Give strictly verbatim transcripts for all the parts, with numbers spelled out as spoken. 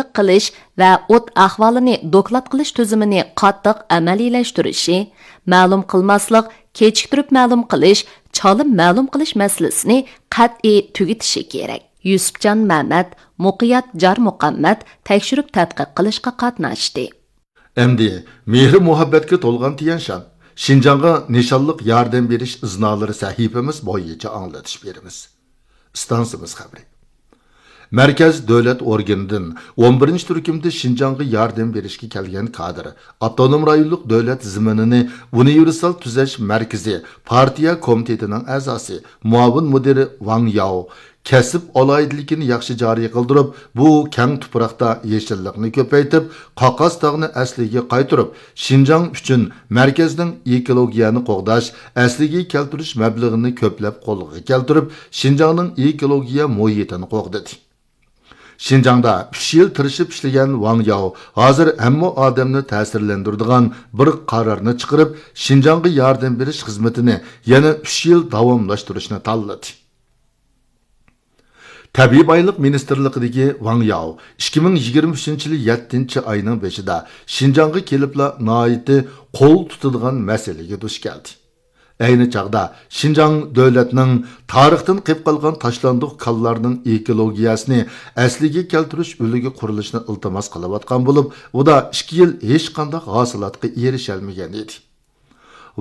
قىلىش ۋە ئوت ئەھۋالىنى دوكلات قىلىش تۈزۈمىنى قاتتىق ئەمەلىيلەشتۈرۈشى، مەلۇم قىلماسلىق، كېچىكتۈرۈپ مەلۇم قىلىش، چالىم مەلۇم قىلىش مەسىلىسىنى قەتئىي تۈگىتىشى كېرەك. يۈسۈپجان مەمەت، مۇقىيات جارمۇقەممەت تەكشۈرۈپ تەتقىق قىلىشقا قاتناشتى. ئەمدى مېھرى مۇھەببەتكە تولغان تيەنشان، شىنجاڭغا نىشانلىق ياردەم بېرىش ئىزنالىرى سەھىپىمىز بويىچە ئاڭلىتىش بېرىمىز. ئىستانسىمىز خەۋىرى. مەركەز دۆلەت ئورگىنىدىن ئون بىرىنچى تۈركۈمدە شىنجاڭغا ياردەم بېرىشكە كەلگەن كادىر، ئاپتونوم رايونلۇق دۆلەت زېمىنىنى ئۇنىۋېرسال تۈزەش مەركىزى پارتىيە كومىتېتىنىڭ ئەزاسى، مۇئاۋىن مۇدىرى ۋاڭ ياۋ، كەسىپ ئالاھىدىلىكىنى ياخشى جارى قىلدۇرۇپ، بۇ كەڭ تۇپراقتا يېشىللىقنى كۆپەيتىپ، قاقاس تاغنى ئەسلىگە قايتۇرۇپ، شىنجاڭ ئۈچۈن مەركەزنىڭ ئېكولوگىيەنى قوغداش، ئەسلىگە كەلتۈرۈش مەبلىغىنى كۆپلەپ قولغا كەلتۈرۈپ، شىنجاڭنىڭ ئېكولوگىيە مۇھىتىنى قوغدىدى. شىنجاڭدا ئۈچ يىل تىرىشىپ ئىشلىگەن ۋاڭ ياۋ ھازىر ھەممە ئادەمنى تەسىرلەندۈرىدىغان بىر قارارنى چىقىرىپ، شىنجاڭغا ياردەم بېرىش خىزمىتىنى يەنە ئۈچ يىل داۋاملاشتۇرۇشنى تاللىدى. تەبىئىي بايلىق مىنىستىرلىقىدىكى ۋاڭ ياۋ ئىككى مىڭ يىگىرمە ئۈچىنچى يىلى يەتتىنچى ئاينىڭ بېشىدا شىنجاڭغا كېلىپلا ناھايىتى قول تۇتىدىغان مەسىلىگە دۇچ كەلدى. ئەينى چاغدا شىنجاڭ دۆلەتنىڭ تارىختىن قېلىپ قالغان تاشلاندۇق كانلارنىڭ ئېكولوگىيەسىنى ئەسلىگە كەلتۈرۈش ئۈلگە قۇرۇلۇشىنى ئىلتىماس قىلىۋاتقان بولۇپ، ئۇدا ئىككى يىل ھېچقانداق ھاسىلاتقا ئېرىشەلمىگەن ئىدى.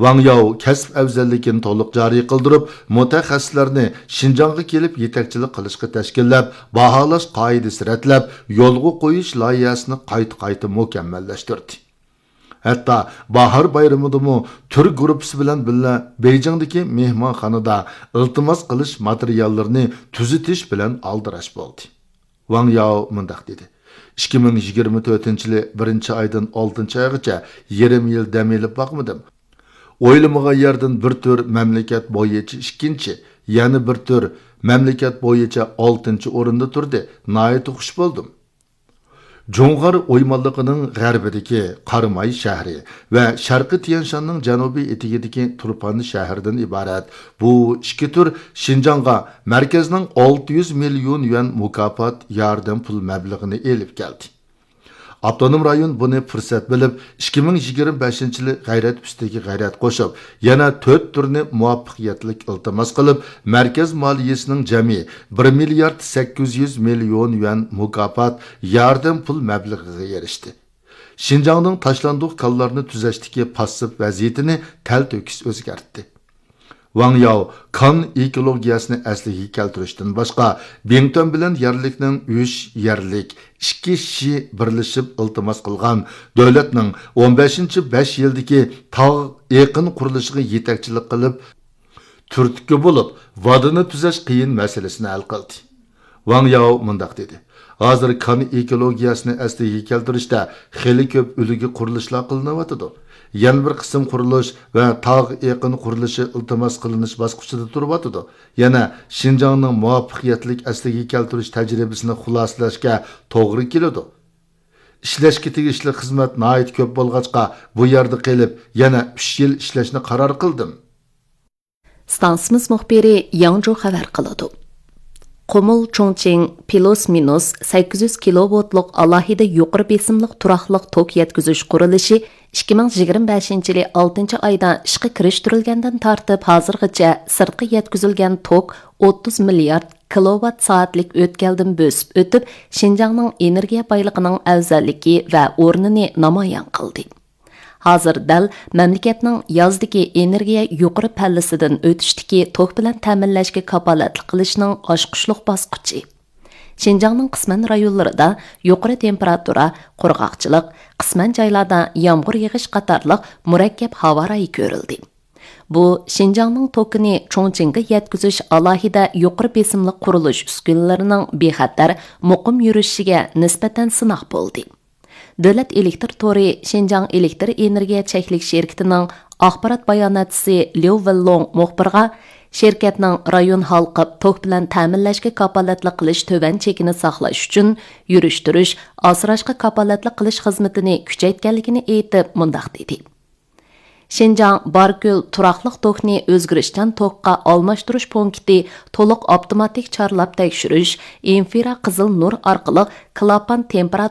ۋاڭ ياۋ كەسىپ ئەۋزەللىكىنى تولۇق جارى قىلدۇرۇپ، مۇتەخەسسىسلەرنى شىنجاڭغا كېلىپ يېتەكچىلىك قىلىشقا تەشكىللەپ، باھالاش قائىدىسى رەتلەپ، يولغا قويۇش لايىھەسىنى قايتا-قايتا مۇكەممەللەشتۈردى. ھەتتا باھار بايرىمىدىمۇ تۈر گۇرۇپپىسى بىلەن بىللە بېيجىڭدىكى مېھمانخانىدا ئىلتىماس قىلىش ماتېرىياللىرىنى تۈزىتىش بىلەن ئالدىراش بولدى. ۋاڭ ياۋ مۇنداق دېدى: «ئىككى مىڭ يىگىرمە تۆتىنچى يىلى بىرىنچى ئايدىن ئالتىنچى ئايغىچە يېرىم يىل دەم ئېلىپ باقمىدىم. ئويلىمىغان يەردىن بىر تۈر مەملىكەت بويىچە ئىككىنچى، يەنە بىر تۈر مەملىكەت بويىچە ئالتىنچى ئورۇندا تۇردى. ناھايىتى خۇش بولدۇم.» جۇڭغار ئويمانلىقىنىڭ غەربىدىكى قاراماي شەھىرى ۋە شەرقىي تيەنشاننىڭ جەنۇبىي ئېتىكىدىكى تۇرپان شەھىرىدىن ئىبارەت بۇ ئىككى تۈر شىنجاڭغا مەركەزنىڭ ئالتە يۈز مىليون يۈەن مۇكاپات ياردەم پۇل مەبلىغىنى ئېلىپ كەلدى. ئاپتونوم رايون بۇنى پۇرسەت بىلىپ، ئىككى مىڭ يىگىرمە بەشىنچى يىلى غەيرەت ئۈستىگە غەيرەت قوشۇپ، يەنە تۆت تۈرنى مۇۋەپپەقىيەتلىك ئىلتىماس قىلىپ، مەركەز مالىيىسىنىڭ جەمئىي بىر مىليارد سەككىز يۈز مىليون يۈەن مۇكاپات ياردەم پۇل مەبلىغىگە ئېرىشتى. شىنجاڭنىڭ تاشلاندۇق كانلارنى تۈزەشتىكى پاسسىپ ۋەزىيىتىنى تەلتۆكۈس ئۆزگەرتتى. ۋاڭ ياۋ كان ئېكولوگىيەسىنى ئەسلىگە كەلتۈرۈشتىن باشقا، بىڭتۈەن بىلەن يەرلىكنىڭ ئۈچ يەرلىك، ئىككى شى بىرلىشىپ ئىلتىماس قىلغان دۆلەتنىڭ ئون بەشىنچى بەش يىلدىكى تاغ ئېقىن قۇرۇلۇشىغا يېتەكچىلىك قىلىپ، تۈرتكە بولۇپ، ۋادىنى تۈزەش قىيىن مەسىلىسىنى ھەل قىلدى. ۋاڭ ياۋ مۇنداق دېدى: «ھازىر كان ئېكولوگىيەسىنى ئەسلىگە كەلتۈرۈشتە خېلى كۆپ ئۈلگە قۇرۇلۇشلار قىلىنىۋاتىدۇ. يەنە بىر قىسىم قۇرۇلۇش ۋە تاغ ئېقىن قۇرۇلۇشى ئىلتىماس قىلىنىش باسقۇچىدا تۇرۇۋاتىدۇ. يەنە شىنجاڭنىڭ مۇۋەپپەقىيەتلىك ئەسلىگە كەلتۈرۈش تەجرىبىسىنى خۇلاسىلەشكە توغرا كېلىدۇ. ئىشلەشكە تېگىشلىك خىزمەت ناھايىتى كۆپ بولغاچقا، بۇ يەردە قېلىپ، يەنە ئۈچ يىل ئىشلەشنى قارار قىلدىم.» ئىستانسىمىز مۇخبىرى ياڭ جو خەۋەر قىلىدۇ. قۇمۇل چۇڭچىڭ پىلۇس مىنۇس سەككىز يۈز كىلوۋولتلۇق ئالاھىدە يۇقىرى بېسىملىق تۇراقلىق توك يەتكۈزۈش قۇرۇلۇشى ئىككى مىڭ يىگىرمە بەشىنچى يىلى ئالتىنچى ئايدا ئىشقا كىرىشتۈرۈلگەندىن تارتىپ ھازىرغىچە سىرتقا يەتكۈزۈلگەن توك ئوتتۇز مىليارد كىلوۋات سائەتلىك ئۆتكەلدىن بۆسۈپ ئۆتۈپ، شىنجاڭنىڭ ئېنېرگىيە بايلىقىنىڭ ئەۋزەللىكى ۋە ئورنىنى نامايان قىلدى. ھازىر دەل مەملىكەتنىڭ يازدىكى ئېنېرگىيە يۇقىرى پەللىسىدىن ئۆتۈشتىكى توك بىلەن تەمىنلەشكە كاپالەتلىك قىلىشنىڭ ئاچقۇچلۇق باسقۇچى. شىنجاڭنىڭ قىسمەن رايونلىرىدا يۇقىرى تېمپېراتۇرا، قۇرغاقچىلىق، قىسمەن جايلاردا يامغۇر يېغىش قاتارلىق مۇرەككەپ ھاۋا رايى كۆرۈلدى. بۇ شىنجاڭنىڭ توكىنى چۇڭچىڭغا يەتكۈزۈش ئالاھىدە يۇقىرى بېسىملىق قۇرۇلۇش ئۈسكۈنىلىرىنىڭ بىخەتەر، مۇقىم يۈرۈشۈشىگە نىسبەتەن سىناق بولدى. دۆلەت ئېلېكتىر تورى شىنجاڭ ئېلېكتىر ئېنېرگىيە چەكلىك شىركىتىنىڭ ئاخبارات باياناتچىسى ليۇ ۋېنلوڭ مۇخبىرغا، شىركەتنىڭ رايون ھالقىپ توك بىلەن تەمىنلەشكە كاپالەتلىك قىلىش تۆۋەن چېكىنى ساقلاش ئۈچۈن يۈرۈشتۈرۈش، ئاسراشقا كاپالەتلىك قىلىش خىزمىتىنى كۈچەيتكەنلىكىنى ئېيتىپ، مۇنداق دېدى: شىنجاڭ باركۆل تۇراقلىق توكنى ئۆزگىرىشچان توكقا ئالماشتۇرۇش پونكىتى تولۇق ئاپتوماتىك چارلاپ تەكشۈرۈش، ئىنفرا قىزىل نۇر ئارقىلىق كلاپان تېمپېراتۇرىسى